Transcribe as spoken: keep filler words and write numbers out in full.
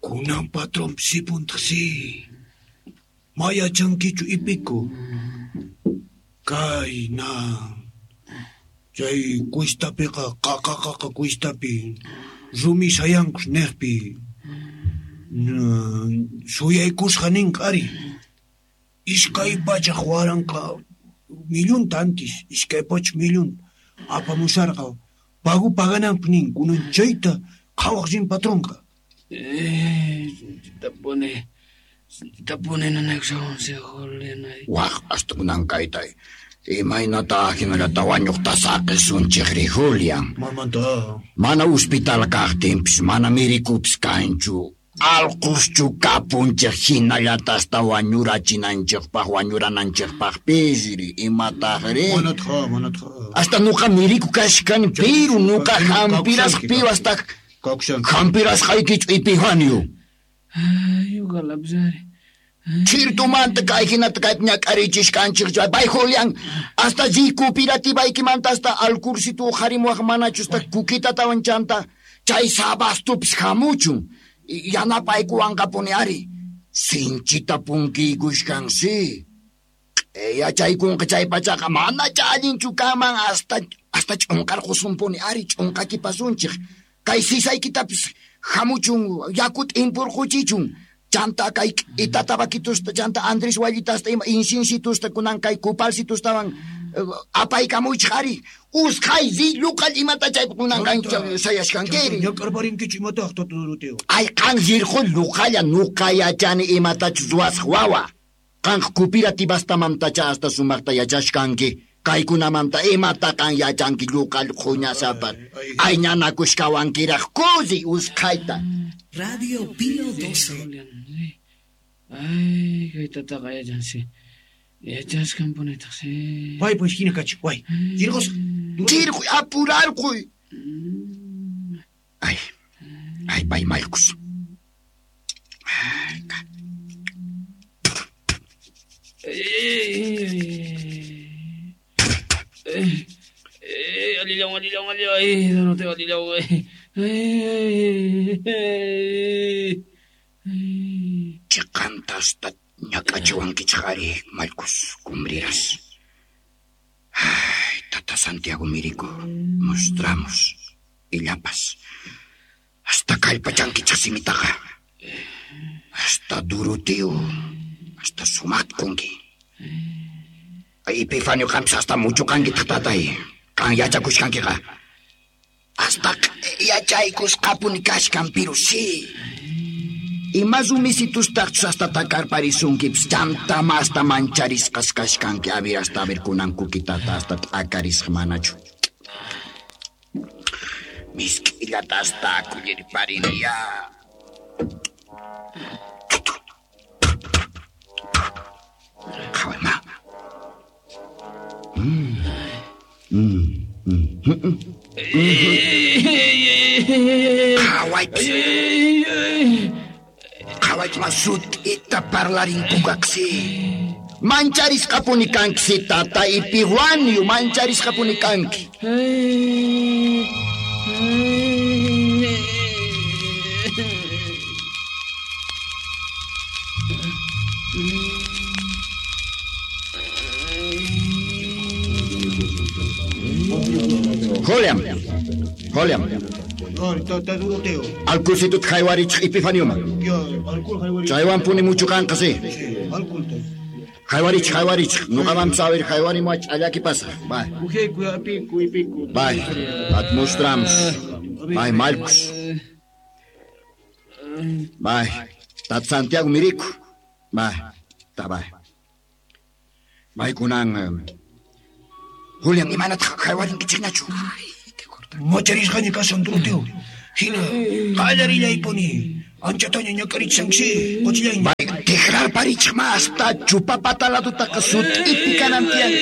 Kunan patrón sipuntaqsi. Maya chankichu ipiku. Kayna. Chay cuistapiqa qaqa qaqa cuistapi. Rumi sayankus niqpi. Suyaykusqa ninqa ari. Iskay pachak waranqa millonta antes, iskay pachak millón apamusarqa. Pagu pagananpaq nin, kunan chayta qhawaq rin patronqa. Eh, tapone, tapone nanaykushawan si Julián. Waq hasta kunan kayta. Imaynata hinallata wañuqta saqisunchik ri Julián. Mamanta. Mana hospital kaqtinpis, mana mirikupis kanchu. Alquschu kapunchik hinallata hasta wañurachinanchikpaq, wañurananchikpaqpis ri imataqri. Manatqa, manatqa. Hasta nuqa miriku kashkani, pero nuqa hampirasqpiwan hasta hampirasqaykichu Epifanio. Ay, uqalapis ari. Chirtumanta kay hinata kaypi ñak'arichishkanchik chay bay Julián hasta ri cooperativaykiymanta hasta alkursitu uqharimuwaq manachu hasta kukitatawan chanta chay sabastupis hamuchun yanapaykuwanqapuni ari sinchita punkiykushkansi yachaykunqa chay pachaqa manacha allinchu kanman hasta hasta ch'unqarqusunpuni ari ch'unqakipasunchik kay sisaykitapis hamuchun yakuta impurquchichun chanta kay ita tabakitusta chanta Andrés Wallitasta ima insinsitusta kunan kay kupalsitustawan apaykamuychik ari usqhay ri lluqal imata chaypi kunan qancha sayashkankiri. Ñak'arparinkichu imataq tata Doroteo. Ay qan rirqu lluqalla nuqa yachani imatachus ruwasaq wawa. Qanqa cooperativastamanta hasta sumaqta yachashkanki. Kaykunamanta imata qan yachanki lluqal qhuñasapa. Ay ñanakushkawankiraq kusi usqhayta. Radio Pío doce. Ay, kay tataqa yachansi. Yachashkanpunitaq si. Pay pues hina kachik, way. Rirqusaq. Rirquy apurarquy. Ay, ay pay Marcos. Ay, ka. Ay, ay, alillaw, alillaw, alillaw. Ay, Doroteo, alillaw. Ay, ay, ay. Chiqanta hasta ñak'achiwankichik ari, Marcos, cumbriras. Ay, tata Santiago Mirico, mostramos illapas. Hasta kallpachankichik simitaqa. Hasta Doroteo, hasta sumatkunki. Ay, Epifanio qampis hasta muchuqankitaq tatay. Qan yachakushkankiqa. Hasta yachaykusqapuni kashkan, pero sí. Ima rumisitustaqchus hasta takarparisunkipis chanta masta mancharisqas kashkanki a ver hasta a ver kunan kukitata hasta t'akarisqa manachu. Misk'illata hasta kullirparini ya. Qhaway ma. Mm. Mm. Mm. Mm. Qhawaypis. Qhawaypis sut'ita parlarinkukaqsi. Mancharisqapuni kanki tata Epifanio, mancharisqapuni kanki. Julián, Julián. Tata Doroteo. Alkulsitut haywarichik Epifanioman. Chaywanpuni muchu kanqa si. Haywarichik, haywarichik. Nuqamanpis a ver haywarimuwach allaki pasaq. Bye. Bye. At mostramos. Bye, Marcos. Bye. Tat Santiago Mirico. Bye. Ta bye. Bye kunan. Julián, imanataq haywarinkichikñachu? Macharisqaña kashan Doroteo. Hina, qallarillaypuni. Anchataña ñak'arichishanksi, qochillayña. Bay, tikrarparichik ma hasta chupapata ladutaqa sut'ipi kanan tiyan.